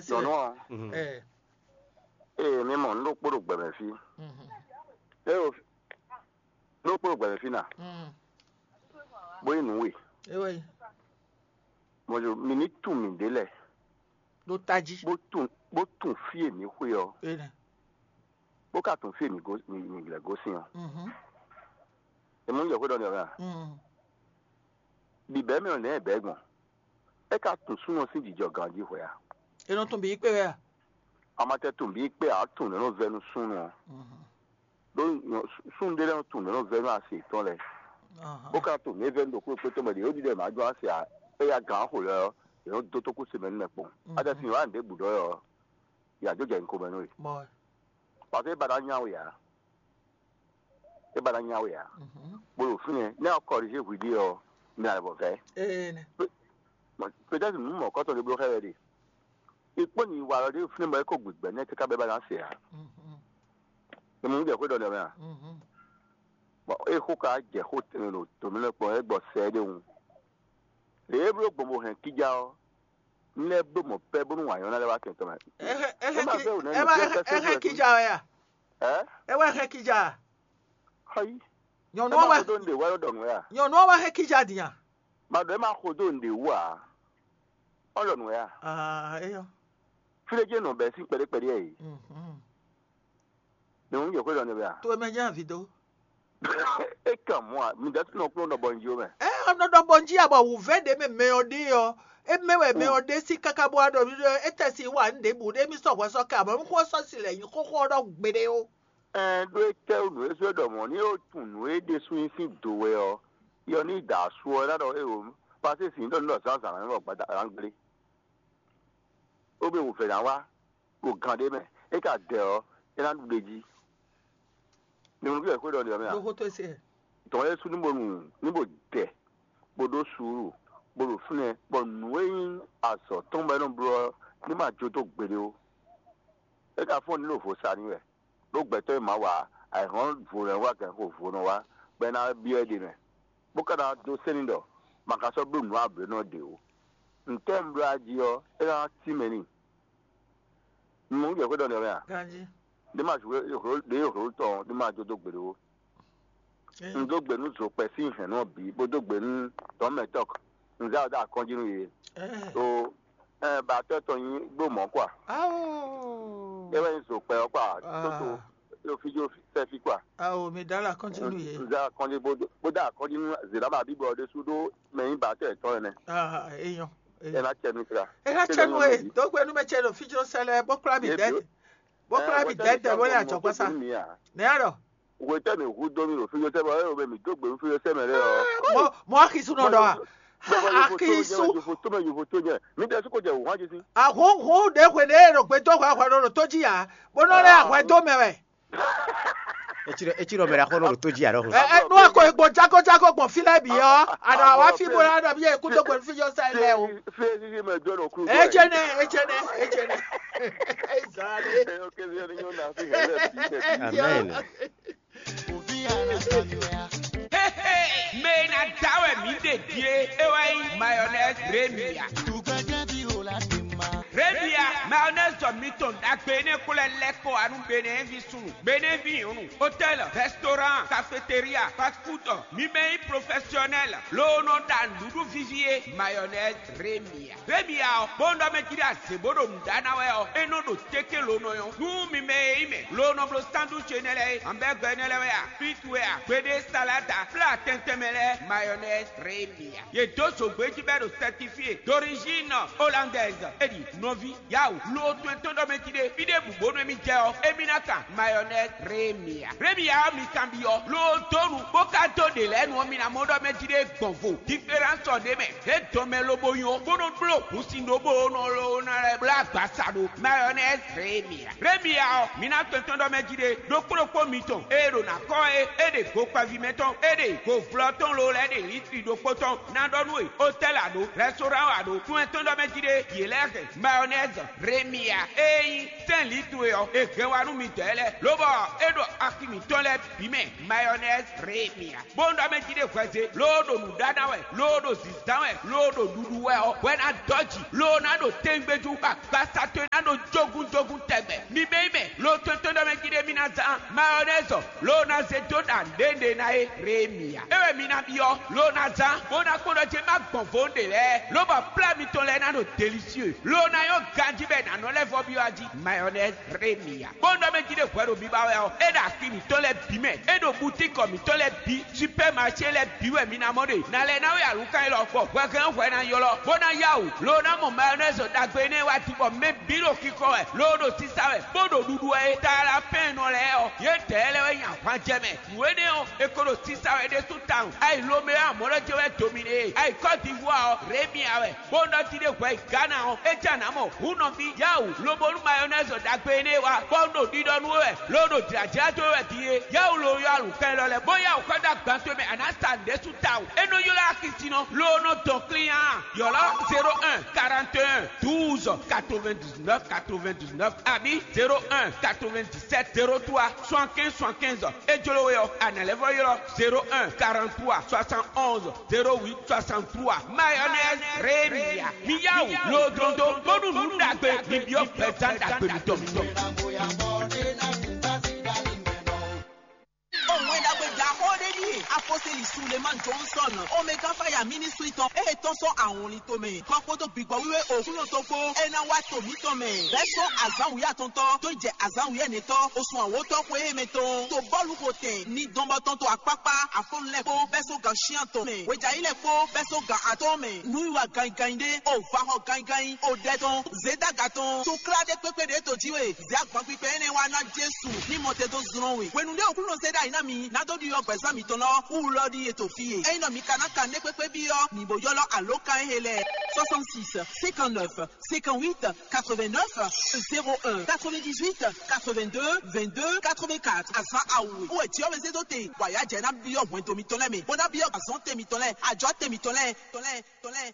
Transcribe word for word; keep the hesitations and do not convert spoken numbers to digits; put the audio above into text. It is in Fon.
Nyɔ̌nu ɔ́, ee, mi mɔ nǔ ɖokpó ɖo gbɛmɛ fí. Eo, nǔ ɖokpó ɖo gbɛmɛ fí na, bó nyí nǔ we. Mɔ̌ mi ní tunwun mǐɖée lɛ́ɛ, ɖo tají. Bó tunwun bó tunwun fí e mǐ xwe ɔ́, Enɛ. Bó ka tunwun fí e mǐ gosín ɔ́. È mɔ nú jɛ xwé ɖɔ n'i ɔ́ mɛ a? Bǐbɛ́ mɛ ɔ́, nɛ̌ è bɛ̌ gbɔn? É ka tunwun súnnu ɔ́ sín jijɔ ganjí hwɛ a? È nɔ tunwun bǐ kpé wɛ a? A ma tɛ tunwun bǐ kpé ǎ, tunwun nɛ̌ nɔ vɛ́ nú súnnu ɔ́. Ɖó súnnu ɖé lɛ́ɛ nɔ tunwun nɛ̌ nɔ vɛ́ nú asi yětɔn lɛ́ɛ. Bó ka tunwun nɛ̌ vɛ́ nú ɖokpó kpé tɔn mɛ ɖě ó ɖiɖɔ è nǎ jó asi ǎ, éyɛ́ gǎn xo lɛ́ɛ ɔ́, yě nɔ dó tókúse mɛ nú mɛ kpɔ́n. A tɛ sin wǎ nǔɖé bǔ ɖɔ ɔ́, yě ǎ jó jɛ nyǐkɔ mɛ nú we. Bɔ Parce que é ba ná nya we ǎ. É ba ná nya we ǎ. Bó ɖo fínɛ́, nɛ́ ɔ kɔlízé hwi ɖíe ɔ́, mi ná lɛ́ vɔ vɛ́. Ee nɛ. Peut-être nǔ mɔ̌kɔtɔn ɖé bló xá wɛ ɖe. Ikpɔ́n nyi wa lɔ ɖé fínɛ́ bɔ é ko gbigbɛ nɛ́ káká bɛ́ ba ná se ǎ. È mɔ nǔ jɛ xwé ɖɔ nɛ mɛ a? Bɔn é xó ka jɛ xó tɛnmɛ ɖo tǒmɛ lɛ́ɛ kpɔn é gbɔ sɛ é ɖéhun. Lě e bló gbɔn bo hɛn kíjá ɔ́, nɛ́ bló mɔ̌ pɛ́ bónú wǎn nyɔ́ná lɛ́ɛ wá kɛn tɔn mɛ. É hɛn é hɛn Ó ma ki- fẹ́ wò nɛ́ é nɔ wá- fíɛ́ é hɛn- fɛ́sɛ́ é hɛn fɛ́sɛ́. Kíjá wɛ a? Ɛ? É wá hɛn kíjá a? Xɔyí. Nyɔnu Ẹ ɔ́ má wá xo dó nǔɖé wá ló ɖɔ nǔ wɛ a? Nyɔnu ɔ́ wá hɛn kíjá din a? Ma ɖɔ ɛ má xo dó nǔɖé wú a? Ɔ ɖɔ nǔ wɛ a? Ah, eyɔ. Fí ɖé jɛ́n nɔ bɛ́ sín kpɛɖé kpɛɖé ɛ yi. Mhm. Nǔ yě xwé ɖɔ nɛ bɛ a? To mɛ jẹ́ àfi dó. É kàn mú a, mi dɛ́ tún nɔ kplɔ́n nɔ bɔ njí ó mɛ. Ɛ ɔnɔ ɖɔ bɔ njí abɔ wǔvɛ́ ɖě mɛ mɛ ɔ́ ɖe ɔ́, é mɛ wɛ mɛ ɔ́ ɖe sí káká bó wá ɖɔ ɖɔ é tɛ si wá nǔ ɖěbǔ ɖé mì sɔ́ hwɛ sɔ́ kɛ àmọ́ mì xó sɔ́ si lɛ nyǐ xóxó ɔ́ ɖɔ gbeɖé ó. Ɛn ɖó é kɛ nǔ e sɔ́ ɖɔ mɔ̌ ní ó tunwun nǔ e ɖésú nyí sín do wɛ ɔ́, yɔ ní da asu ɔ́ é ná ɖɔ éwo pasé sin ɖɔ ní ɖɔ zǎnzǎn ná nɔ gbada gblé. Ó be wǔvɛ́ ná wá ɖo gan ɖé mɛ, é ka dɛ ɔ́, é ná ɖu ɖ'é jí. Mi mɔ nú kí wɛ xwé ɖɔ ɖe ɔ́ mɛ a? Ɖó xó tó se. Tɔn Yɛsu ní bo nu ní bo dɛ, bó ɖó suúlu, bó ɖo fínɛ́, bɔ nǔ e nyí azɔ̌ tɔn bɔ é nɔ bló ɔ́ ní ma jó dó gbeɖé ó. É ka fɔ́n ní ɖo vo sa n'i wɛ, ɖó gbɛtɔ́ e Mawu ǎ, ayǐhɔ́n vo nɔ wá gǎn xo vo nɔ wá, bɔ é ná byɔ́ ɛ ɖe mɛ, bó ka ná dó sɛ́n n'i ɖɔ ma ka sɔ́ bló nǔ ablǒnɔ ɖě ó. Ntɛ́ɛ un bló a jí ɔ́, é ná cí mɛ n'i. Un mɔ nǔ jɛ xwé ɖɔ nɛ mɛ a? Ganjí. Ɖé ma zǔ ɖé hlo tɔn ɖé ma jó dó gbe ɖó. Un dó gbe nú zokpɛ sín hɛ̌nnu ɔ́ bǐ, bó dó gbe nú tɔ̌mɛtɔ́k. Un zá ɔ dó akɔ́njí nú yě. Ɛ, Ɖó ɛ, batɔ́ tɔn nyí gbó mɔ̌ kɔ a? Ao. É wɛ nyí zokpɛ ɔ́ kɔ a? Ah. Tótó ɖo fí jó sɛ́ fí kɔ a? Ao, mi dá la kɔ́njí nú yě. Un zá akɔ́njí bó dó bó dó akɔ́njí nú Zěɖáma bíbɔ ɔ́ ɖésú ɖó mɛ nyí batɔ́ yětɔn ɛnɛ. Ah, eyɔn. Ɛ ná cɛ mi kra. Ɛ ná cɛ nú e, dó gbe nú mɛ ce ɖo fí jó sɛ́ lɛ́ɛ, bó kplá mi dɛ̌. Bó kplá mi dɛ̌ dɛ̌ bó lɛ ajɔ̌gbɔ́sá. Nɛ̌ a ɖɔ? Hwetɛ́ mi hu dó mi ɖo fíjó sɛ́ mɛ ɔ́, mi dó gbe nú fíjó sɛ́ mɛ lɛ́ɛ ɔ́. Mɔ mɔ Akisu nɔ ɖɔ a. Akisu. Yòfo tó mɛ yòfo tó nyɛ. Mi tɛ sukɔ jɛ wò hàn jesi. Ahun hun ɖe hwe ɖe ɖo gbe dó hwɛ hwɛ ɖo tó jí ya. Bó nɔ lɛ ahwɛ dó mɛ wɛ. Etsi ɖɔ etsi ɖɔ mɛ ɖe axɔ nɔ ɖo tó jí ya ɖɔhun. Ɛ ɛ nú akɔ egbò jákó jákó gbɔn fí lɛ bǐ ɔ́, àná wá fí bó lɛ ɖɔ bí yẹ kú dó gbe nú fíjó sɛ lɛ o. Fíjó sɛ mɛ dó nɔ kú. Etsɛnɛ etsɛnɛ etsɛnɛ. Ezale. Eyɔ kɛsɛ ni nyɔ na fi hɛlɛ bi tɛ. Amen. Hehe, mɛ e ná da wɛ mǐ ɖe din é, é wɛ nyí mayonnaise Remia. Remia, mayonnaise mitɔn ɖagbe énɛ́ ko lɛ́ lɛ́ kɔ wá nú Benɛ́ɛvi súnnu, Benɛ́vi nyɔ̌nu, hôtel, restaurant, cafétéria, fast food, mi mɛ nyí professionnel, loo nɔ ɖa nǔɖuɖu víví é, mayonnaise Remia. Remia ɔ́, bó nɔ mɛ jí ɖo azě bó ɖo nǔ ɖa ná wɛ ɔ́, é nɔ ɖo téké lo nɔ nyɔ́. Nú mi mɛ e nyí mɛ lo nɔ bló sandwich énɛ́ lɛ́ɛ é, hamburger énɛ́ lɛ́ɛ wɛ a, frites wɛ a, gbeɖé, salade, plat tɛntɛn mɛ lɛ́ɛ, mayonnaise Remia. Yě dó zǒgbé jí bɔ é ɖo certifié d'origine hollandaise. É ɖi nɔví, yawu, lo tɔn tɔn ɖɔ mɛ jí ɖé. Fí ɖěbǔ bónú émí jɛ ɔ́, émí ná kan mayonnaise Remia. Remia ɔ́ mi kanbyɔ́, lo dó nu, bó ka dó ɖě lɛ́ɛ nu ɔ́, mi ná mɔ ɖɔ mɛ jí ɖé gbɔn vo. Différence ɔ́ ɖ'é mɛ. É dɔn mɛ lobo nyɔ, bó nɔ bló hǔnsin ɖó bó nɔ ló ná lɛ́ bló agbasa ɖó mayonnaise Remia. Remia ɔ́, mi ná tɔn tɔn ɖɔ mɛ jí ɖé, ɖokpó ɖokpó mitɔn e ɖo ná kɔn é, é ɖe go kpaví mɛ tɔn, é ɖe go vlɔ tɔn lo lɛ́ ɖe litri ɖokpó tɔn ná ɖɔ nú we, hôtel a ɖo, restaurant a ɖo, tún ɛ tɔn ɖɔ mɛ jí ɖé, yě lɛ́ hɛn mayonnaise Remia e nyí sɛ́n litru e ɔ́, è hɛn wá nú midɛɛ lɛ́ɛ, lobɔ é ɖo axi mǐtɔn lɛ́ɛ bǐ mɛ, mayonnaise Remia. Bó nɔ mɛ jí ɖé hwɛze, loo ɖo nǔ ɖa ná wɛ, loo ɖo zǐzán wɛ, loo ɖo ɖuɖu wɛ ɔ́, hwɛ ná dɔ́ jǐ, loo ná ɖo téńgbéjú, bɔ agbasa towe Zán mayɔnɛzɔ ló ná zé dó ɖa nǔɖé ná é Rémiya. É wɛ mi ná byɔ́ ló ná zán bó ná kpɔ́n ɖɔ ce má gbɔn vo ɖe lɛ́ɛ, lóbɔ plá mitɔn lɛ́ɛ ná ɖo delisieu, ló ná nyɔ́ ganjí bɔ è nǎ nɔ lɛ́ vɔ byɔ́ jí mayɔnɛzi Rémiya. Kpɔ́n ɖɔ mɛ jí ɖe hwɛ ɖo biba wɛ ɔ́, é ɖo axi mǐtɔn lɛ́ɛ bǐ mɛ, é ɖo butíkɔ mǐtɔn lɛ́ɛ bǐ, supɛ́maṣé lɛ́ɛ bǐ wɛ mi ná mɔ ɖe. Ná lɛ́ ná wɛ alǔkan élɔ́, bɔ hwɛhɛn hwɛ ná ylɔ́, bó ná yá wǔ, ló ná mɔ mayɔnɛzi ɖagbe énɛ́ wá din, bɔ mɛ bǐ ɖo xixɔ wɛ, ló ɖo sísá wɛ, bó ɖo ɖuɖu wɛ é. Talapɛ́nnɔ lɛ́ɛ ɔ́, yědɛɛ lɛ́ɛ wɛ nyi ahwan jɛ mɛ. Nǔ énɛ́ ɔ́, è ko ɖo sísá wɛ ɖésú tawun. Ayi Lomea mɔ̌ jɛ wɛ dominé e. Ayi Kɔ́divuwa ɔ́, Rémia wɛ. Bó nɔ ti ɖe hwɛ yi Gana ɔ́, é jɛ nǎ mɔ hǔn nɔví Yawu lobo nú mayɔnɛzi ɖagbe énɛ́ wá, bɔ un ɖo ɖiɖɔ nú we wɛ, ló ɖo jlǎjlá dó we wɛ din é. Yawu lo yɔ alǔkɛn lɔ lɛ́ɛ, bó Yawu xɔ dó agban towe mɛ, a nǎ sa nǔɖésú tawun. É nɔ ylɔ́ axi sin nɔ, ló nɔ dɔn klín a. Yɔ̌lɔ́ zéro un quarante et un douze quatre-vingt-dix-neuf quatre-vingt-dix-neuf àbí zéro un quatre-vingt-dix-sept zéro trois soixante-quinze soixante-quinze. É jló we ɔ́, a nǎ lɛ́ vɔ ylɔ́ zéro un quarante-trois soixante-onze zéro huit soixante-trois. Mayonnaise Rémia, mi yá wǔ lodlondo, bónú nǔ ɖagbe mi byɔ́ gbɛzán ɖagbe mitɔn. Òun wɛ ɖagbe ɖaxó ɖé ɖíe apɔseli Sulemani Johnson, Omega Fire Ministry tɔn, e tɔn sɔ́ awɔnlin tomɛ, kɔ kpódó gbigbɔ wíwé Òkúnɔ tɔn kpó, é ná wá to mǐtɔn mɛ, bɛ́ sɔ́ azǎn wǔyá atɔntɔ́ dó jɛ azǎn wǔyá ɛnɛtɔ́, osùn awǒtɔ́ xwé mɛ tɔn, to bɔ́lu xo tɛn, ní dɔn bɔ tɔn to akpákpá, afɔ́nú lɛ́ɛ kpó, bɛ́ sɔ́ gan shin atɔn mɛ, hwejǎyi lɛ́ɛ kpó, bɛ́ sɔ́ gan atɔ́ɔ́n mɛ, nú yi wa ganyiganyi ɖé, o va xɔ ganyiganyi, o ɖɛ tɔn, zědaga tɔn, to klá ɖé kpékpé ɖě to jí we, zě agban kpikpɛ énɛ́ wá ná Jesu ní mɔ te dó zlɔ́n we. Hwenu ɖé Aklúnɔ zé ɖ'ayǐ ná mi, ná dó ɖiɖɔ gbɛ̌zán mitɔn lɔ, wú lɔ ɖíe to fí e. Ényí nɔ mi ka ná kan nɛ́ kpékpé byɔ́, mi bo ylɔ́ alǒkan e lɛ́ɛ: soixante-six cinquante-neuf cinquante-huit quatre-vingt-neuf zéro un, quatre-vingt-dix-huit quatre-vingt-deux vingt-deux quatre-vingt-quatre. Azǎn awu e wɛ Jǐɔ́wézédóte wǎyájɛ ná byɔ́ hwɛndo mitɔn lɛ́ɛ mɛ, bó ná byɔ́ azɔ̌n te mitɔn lɛ́ɛ, ajɔ̌ te mitɔn lɛ́ɛ, tɔn lɛ́ɛ, tɔn lɛ́ɛ.